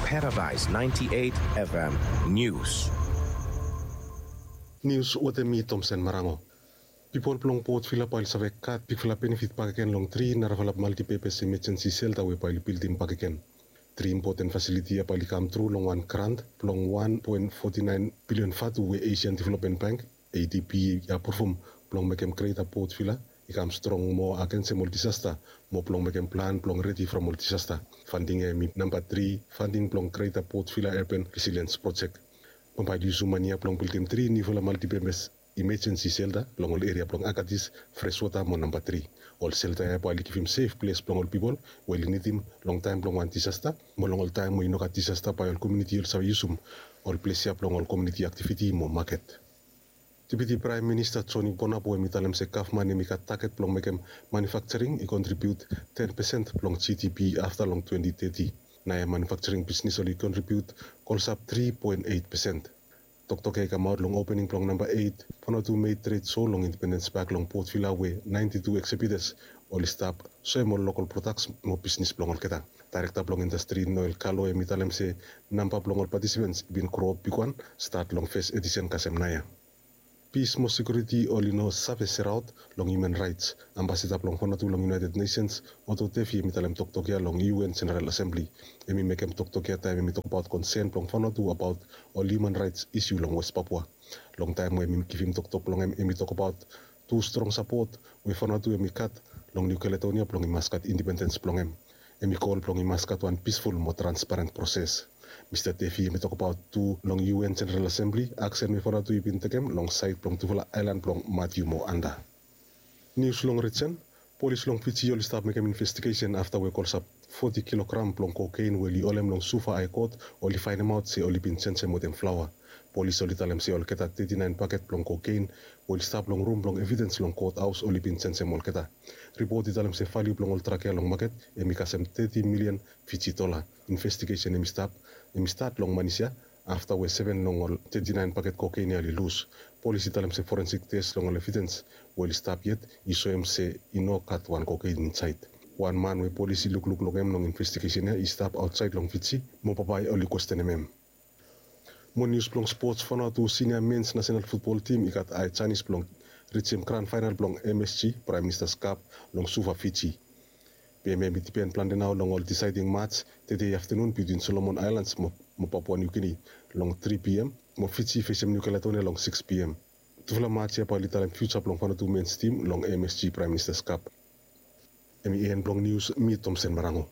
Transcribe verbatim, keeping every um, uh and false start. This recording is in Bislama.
Paradise ninety-eight F M News. Nius wetem mi Tomsen Marango. Pipol blong Port Vila bae oli save gat bigfala benefit bakegen long tri narafala multipurpose emergency shelter we bae oli bildim bakegen. Tri impoten fasiliti ya bae oli kam tru long wan grant blong wan poen foti naen bilion vatu we Asian Development Bank, A D B, i apruvum blong mekem Greater Port Vila i kam strong moa agensem ol disasta, mo blong mekem plan blong redi from ol disasta. Fanding ya hemi namba tri fanding blong Greater Port Vila Urban Resilience Project. Bambae oli yusum mane ya blong bildim tri niufala multipurpose emergency shelter long ol eria blong Agatis, Freshwater mo namba tri. Ol shelter ya bae oli givim sef ples blong ol pipol we oli nidim long taem blong wan disasta, mo long ol taem we i no gat disasta bae ol komuniti oli save yusum ol ples ya blong ol komuniti aktiviti mo maket. Deputi Praem Minista Joni Bonap we hemi talem se gavman hemi gat taget blong mekem manufakjaring i kontribiut ten pesen blong G D P afta long twenti teti. Naoia manufakjaring bisnis oli kontribiut klosap tri poen eit pesen. Toktok ya i kamaot long opening blong namba eit Vanuatu Made Trade Show long Independence Park long Port Vila we naenti tu exhibitors oli stap soem ol lokol prodaks mo bisnis blong olgeta. Daerekta blong indastri Noel Kalo hemi talem se namba blong ol patisipens i bin groap bigwan stat long fes edisen kasem naoia. Pis mo sekiuriti oli no save seraot long hiuman raets. Ambasada blong Vanuatu long United Nations, Otto Tefi, hemi talem toktok ya long U N Jeneral Asembli. Hemi mekem toktok ya taem hemi tokbaot konsen blong Vanuatu abaot ol hiuman raets isiu long West Papua. Long taem we hemi givim toktok blong hem, hemi tokbaot tu strong sapot we Vanuatu hemi gat long Niu Kaledonia blong i mas gat independens blong hem. Hemi kol blong i mas gat wan pisful mo transparen proses. Mista Tefi hemi tokbaot tu long U N Jeneral Asembli aksen we Vanuatu i bin tekem long saed blong tufala aelan blong Matiu mo Anda. Nius long rijen. Polis long Fiji oli stap mekem investigesen afta we klosap foti kilogram blong kokein we oli holem long Suva Hae Kot oli faenemaot se oli bin jenjem wetem flaoa. Polis oli talem se olgeta teti naen baket blong kokein we oli stap long rum blong evidens long kothaos oli bin jenjem olgeta. Ripot i talem se valiu blong ol drak ya long maket hemi kasem teti milian Fiji dola. Investigesen hemi stap, hemi stat long Manis ya afta we seven long ol teti naen baket kokein ya oli lus. Polis i talem se forensik tes long ol evidens we oli stap yet i soem se i no gat wan kokein insaed. Wan man we polis i lukluk long hem long investigesen ya i stap aotsaed long Fiji mo bambae oli kwestenem hem. Mo nius blong spots. Vanuatu sinia mens nasenal futbol tim i gat hae janis blong rijem gran faenal blong M S G, Praem Minista's Cup, long Suva, Fiji. Be hemia hemi dipen plante nao long ol disaeding mats tede aftenun bitwin Solomon Aelans mo Papua Niu Gini long tri P M, mo Fiji fesem Niu Kaledonia long six P M. Tufala mats ya bae oli talem fiuja blong Vanuatu mens tim long M S G Praem Minista's Cup. Hemi en blong nius. Mi Tomsen Marango.